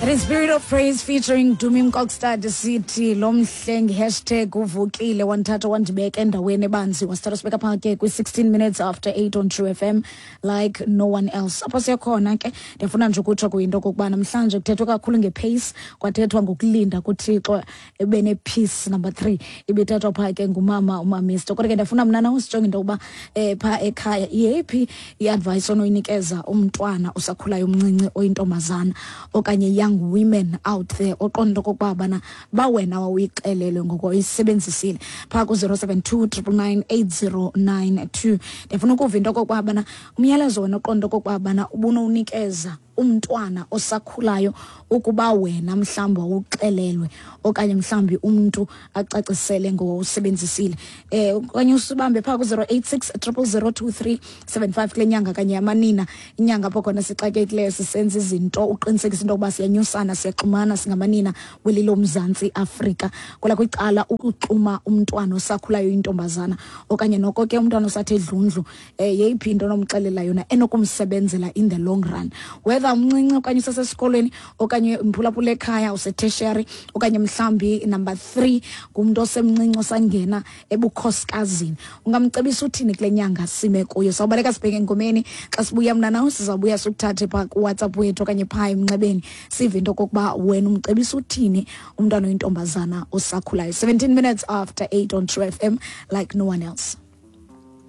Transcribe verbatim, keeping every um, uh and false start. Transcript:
That is Spirit of Praise featuring Dumi Mkokstad, sithi lo mhlengi hashtag uvukile wandithatha wandibeka endaweni ebanzi, wasithatha sibeka phaa ke kwi-sixteen minutes after eight on True F M, like no one else. Apho siyakhona ke, ndiyafuna nje ukutsho kuyinto okokuba namhlanje kuthethwe kakhulu ngepace, kwathethwa ngokulinda kuThixo ebe ne-peace. Number three ibithethwa phaa ke ngumama uMamisto. Kodwa ke ndiyafuna mna nawe sijonge into yokuba um phaa ekhaya yeyiphi i-advice onoyinikeza umntwana osakhulayo umncinci oyintombazana okanye young women out there oqonda into okokuba bana bawena wawuyixelelwe ngoko uyisebenzisile phaa ku-zero seven two triple nine eight zero nine two. Ndiyafuna ukuva into okokuba bana umyalezo wena oqonda okokuba bana ubunowunikeza umntwana osakhulayo ukuba wena mhlawumbi wawuxelelwe okanye mhlawumbi umntu acacisele ngowusebenzisile, eh okanye usibambe phaa ku-zero eight six triple zero two three seven five kule nyanga kanye yamanina, inyanga apho khona sixakekileyo sisenza izinto uqinisekisa into yokuba siyanyusana, siyaxhumana singamanina kweli loMzantsi Afrika. Kwela kwicala ukuxuma umntwana osakhulayo intombazana okanye noko ke umntwana osathe dlundlu, um yeyiphi into onomxelela yona enokumsebenzela in the long run, whether umncinci okanye usesesikolweni okanye mphulaphula ekhaya usetertiary okanye mhlawumbi number three ngumntu osemncinci osangena ebukhosikazini, ungamcebisa uthini kule nyanga sime kuyo? Sawubaleka sibheke engomeni. Xa sibuya mna nawe sizawubuya sikuthathe phaa kuWhatsApp wethu okanye phaa emnxebeni, sive into okokuba wena umcebisa uthini umntwana oyintombazana osakhulayo. seventeen minutes after eight on True F M, like no one else.